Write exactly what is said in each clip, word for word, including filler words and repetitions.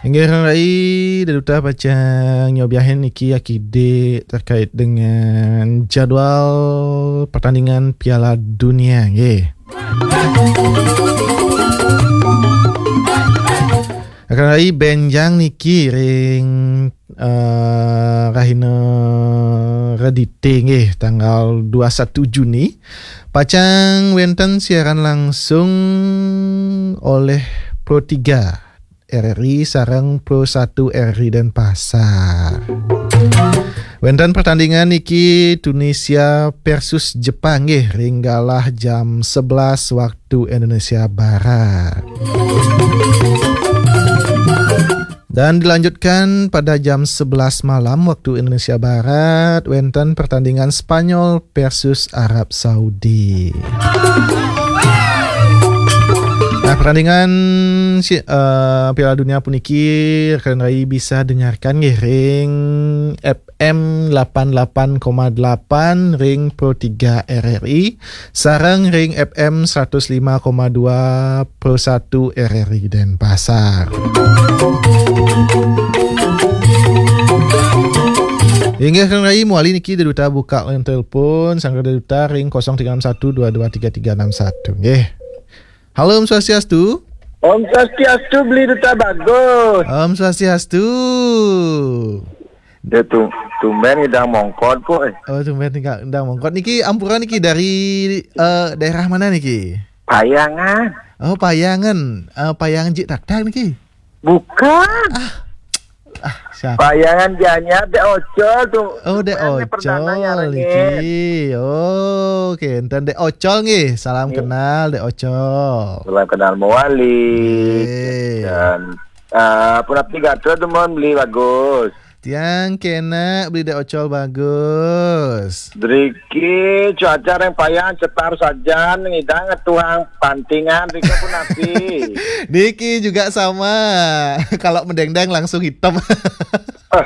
Inggih, Rai, Daduta pacang nyobiahin niki akidi terkait dengan jadwal pertandingan Piala Dunia, nggih. Akan Rai, benjang niki ring, eh, rahina Redite, nggih, tanggal dua satu Juni. Pacang wenten siaran langsung oleh Pro tiga R R I sareng Pro satu R R I Denpasar. Wenten pertandingan niki Tunisia versus Jepang, nggih, ring galah jam sebelas waktu Indonesia Barat. Dan dilanjutkan pada jam sebelas malam waktu Indonesia Barat, wenten pertandingan Spanyol versus Arab Saudi. Nah, pertandingan si, eh, Piala Dunia puniki rekan Rai bisa dengarkan nggih ring F M delapan delapan koma delapan ring Pro tiga R R I, sareng ring F M seratus lima koma dua Pro satu R R I Denpasar. Inggih, rekan Rai, mawali niki Daduta buka line telepon, sanggra Daduta ring kosong tiga enam satu dua dua tiga tiga enam satu, nggih. Halo, Om Swastiastu. Om Swastiastu, Beli Duta Bagus. Om Swastiastu. Dia tu, tumben ngidang mongkot kok, eh. Oh, tumben ngidang mongkot. Niki ampura niki dari, eh, daerah mana niki? Payangan. Oh, Payangan. Eh, Payangan Jik Taktak niki? Bukan. Ah, siapa? Payangan Gianyar, Dek Ocol tu. Oh, Dek Ocol niki. Oh, oke, enten Dek Ocol nggih. Salam kenal, Dek Ocol. Salam kenal mawali. Nggih. Dan, eh, punapi gatra dumun Beli Bagus? Tiang kenak, Beli Dek Ocol Bagus. Driki cuaca ring Payangan cetar sajan, ngidang ngetuhang pantingan, driki punapi? Niki juga sama. Kalau medengdeng langsung hitam. Ah,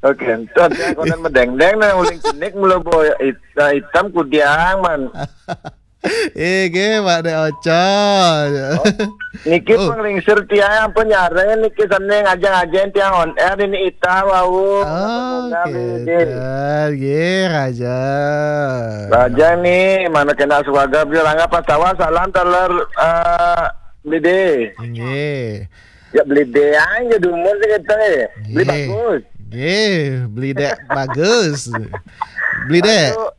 oke, enten ya, konen medengdeng, nah, uling cenik mula boy, it-, nah, hitam kudiang, man. Eh, nggih, Pak Dek Ocol. Oh, niki panglingsir tiang ampun nyarengin niki sane ngajeng-ajeng tiang on air ini ita wau. Oh, nggih, raja. Raja ni, mana kena suaga beli rangga pas tawa salam taler, eh, Beli De. Nggih. Ya, Beli De aja dumun sih kita, eh. Beli Bagus. Nggih, Beli Dek Bagus. Beli Dek. Aduh.